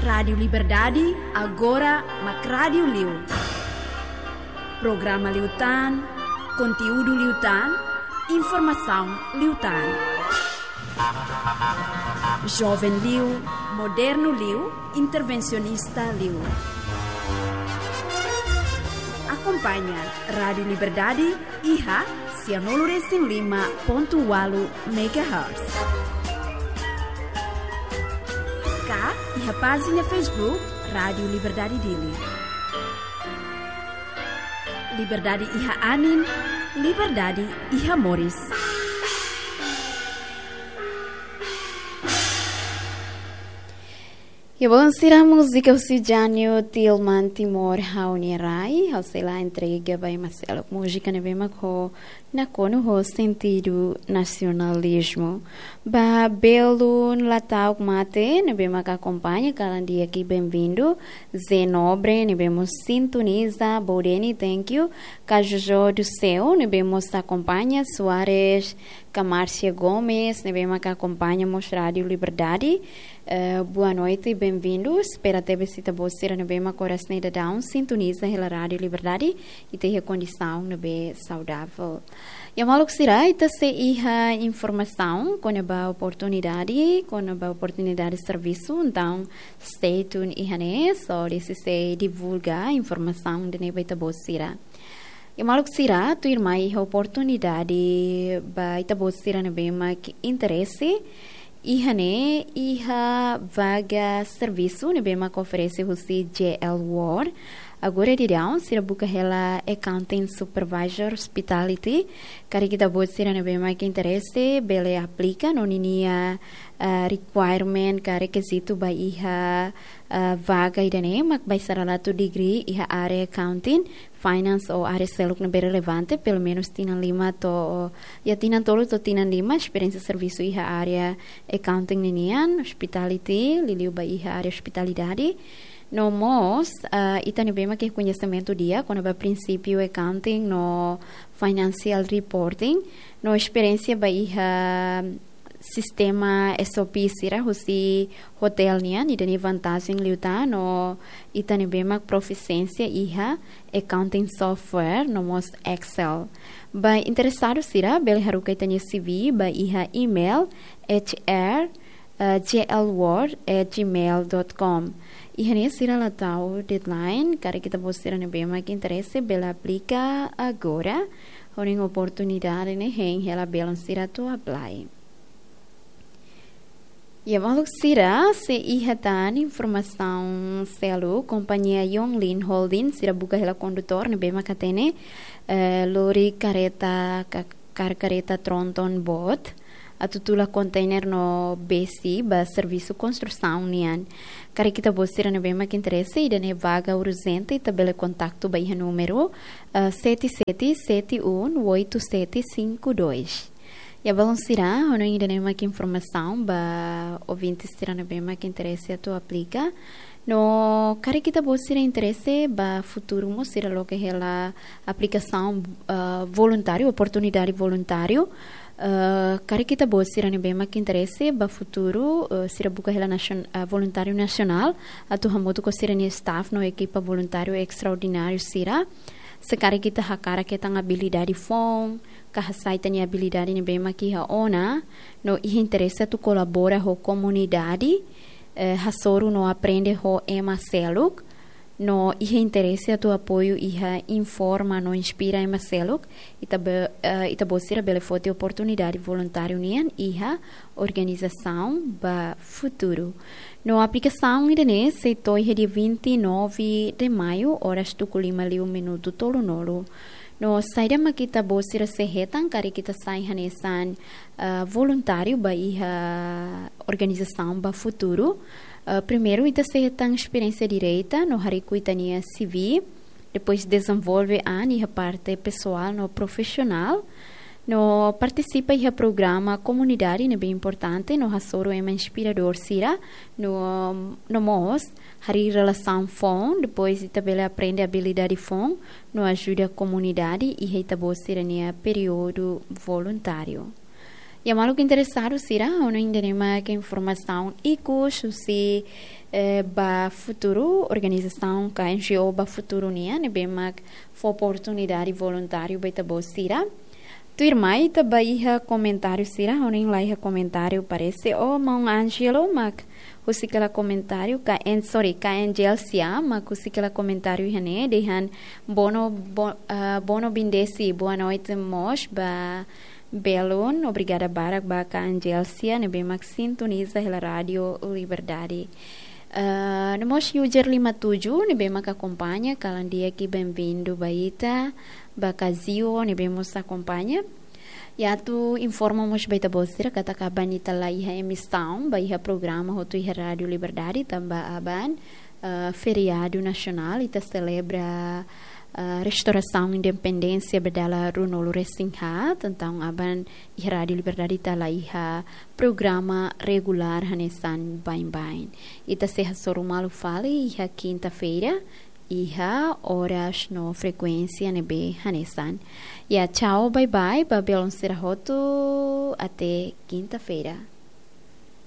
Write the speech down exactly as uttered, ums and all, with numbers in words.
Rádiu Liberdade, agora mak rádiu liu. Programa liután, konteúdu liután, informasaun liután. Joven liu, modernu liu, intervensionista liu. Akompaña Rádiu Liberdade iha sianulu resin lima pontu ualu megahertz. Ka iha pájina Facebook Rádiu Liberdade Dili. Liberdade iha anin, liberdade iha moris. Ya, bom, sira, múzika husi Jânio Tilman, Timor Ha'u-nia Rai, ha'u sei la entrega ba ema seluk múzika ne'ebé mak ho nakonu ho sentidu nasionalizmu. Ba belun la ta'uk mate, ne'ebé mak akompaña kalan di'ak, benvindu. Zé Nobre, ne'ebé mós sintoniza, Bodeni, thank you. Ka Jojo do Céu, ne'ebé mós akompaña, Soares, ka Márcia Gomes, ne'ebé mak akompaña mós Rádiu Liberdade. Eh, boa noite, benvindu. Espera tebes ita-boot sira ne'ebé mak oras ne'e daudaun sintoniza hela Rádiu Liberdade, ita iha kondisaun ne'ebé saudável. Ya, maluk sira, ita sei iha informasaun kona-ba oportunidade, kona-ba oportunidade servisu, entaun stay tuned iha ne'e, so ita sei divulga informasaun ida-ne'e ba ita-boot sira. Ya, maluk sira, tuirmai iha oportunidade ba ita-boot sira ne'ebé mak interese, iha ne'e iha vaga servisu ne'ebé mak oferese husi J L World. Agora daudaun sira buka hela Accounting Supervisor Hospitality. Karik ita-boot sira ne'ebé mak interese bele aplika, no ninia, eh, requirement ka rekizitu ba iha, eh, vaga ida-ne'e mak bailaradu degree iha área accounting, finance ou área seluk ne'ebé relevante, pelumenus tinan lima to'o, ya, tinan tolu to'o tinan lima esperiénsia servisu iha área accounting ninian, hospitality, liuliu ba iha área ospitalidade. No mós, ah, ita ne'ebé mak iha koñesimentu di'ak kona-ba prinsípiu accounting no financial reporting, no esperiénsia ba iha sistema S O P sira husi hotel nian, ida-ne'e vantajen liután, no ita ne'ebé mak profisiénsia iha accounting software, no mós Excel. Ba interesadu sira, bele haruka ita-nia C V ba iha email H R, eh, J L World at gmail dot com. Iha ne'e sira la tau deadline, karik ita-boot sira ne'ebé mak interese bele aplika agora, hodi oportunidade ne'e hein hela belun sira atu apply. Ya, maluk sira, sei iha tan informasaun seluk, kompañia Yonglin Holding, sira buka hela kondutór ne'ebé mak hatene, eh, lori karreta ka-, kar karreta tronton boot, atu tula konteiner no besi ba servisu konstrusaun nian. Karik ita-boot sira ne'ebé mak interese, ida-ne'e vaga urjente, ita bele kontaktu ba iha númeru, eh, sete sete sete um oito sete cinco dois. Ya, balun sira, hanoin ida-ne'e mak informasaun ba ouvinte sira ne'ebé mak interese atu aplika. No karik ita-boot sira interese ba futuru mós sira loke hela aplikasaun, ah, voluntáriu, oportunidade voluntáriu. Ah, karik ita-boot sira ne'ebé mak interese ba futuru, ah, sira buka hela nasion-, ah, voluntáriu nasionál, atu hamutuk ho sira-nia staff no ekipa voluntáriu estraordináriu sira. Se karik ita hakarak hetan abilidade foun, ka hasai ita-nia abilidade ne'ebé mak iha ona, no iha interese atu kolabora ho komunidade, eh, hasoru no aprende ho ema seluk, no iha interese atu apoiu iha informa no inspira ema seluk, ita be-, eh, ita-boot sira bele foti oportunidade voluntáriu nian iha organizasaun ba futuru. No aplikasaun ida-ne'e sei to'o iha dia vinte e nove de maio, oras tuku lima liu minutu tolunulu. No saida mak ita-boot sira sei hetan karik ita sai hanesan, ah, voluntáriu ba iha organizasaun ba futuru. Ah, primeiru ita sei hetan esperiénsia direta no hariku ita-nia C V. Depois dezenvolve an iha parte pesoál no profisionál. No partisipa iha programa komunidade ne'ebé importante no hasoru ema inspiradór sira. No, no mós harii relasaun foun, depois ita bele aprende abilidade foun, no ajuda komunidade iha ita-boot sira-nia períodu voluntáriu. Ya, maluk interesadu sira, ha'u hanoin ida-ne'e mak informasaun ikus husi, eh, Ba Futuru, organizasaun ka N G O Ba Futuru nian, ne'ebé mak fó oportunidade voluntáriu ba ita-boot sira. Tuirmai ita ba iha komentáriu sira, ha'u hanoin la iha komentáriu, parese, oh, maun Angelo mak husik hela komentáriu, ka N, sorry, ka Angel Sia mak husik hela komentáriu iha ne'e, dehan Bono, Bo-, ah, Bono Bindesi, boa noite mós ba belun, obrigada barak ba ka Angel Sia ne'ebé mak sintoniza hela Rádio Liberdade. Ah, no mós user lima tujuh ne'ebé mak akompaña, kalan di'ak, bem-vindo ba ita, ba ka Zio ne'ebé mós akompaña. Ya, atu informa mós ba ita-boot sira katak aban ita la iha emisaun, ba iha programa hotu iha Rádio Liberdade, tanba aban, eh, feriadu nasionál, ita selebra, eh, restaurasaun independénsia ba dala ruanulu-resin-haat, entaun aban iha Rádio Liberdade ita la iha programa regulár hanesan baibain. Ita sei hasoru malu fali iha kinta-feira, iha oras no frekuénsia ne'ebé hanesan. Ya, tchau, bye bye, ba belun sira hotu, até kinta-feira.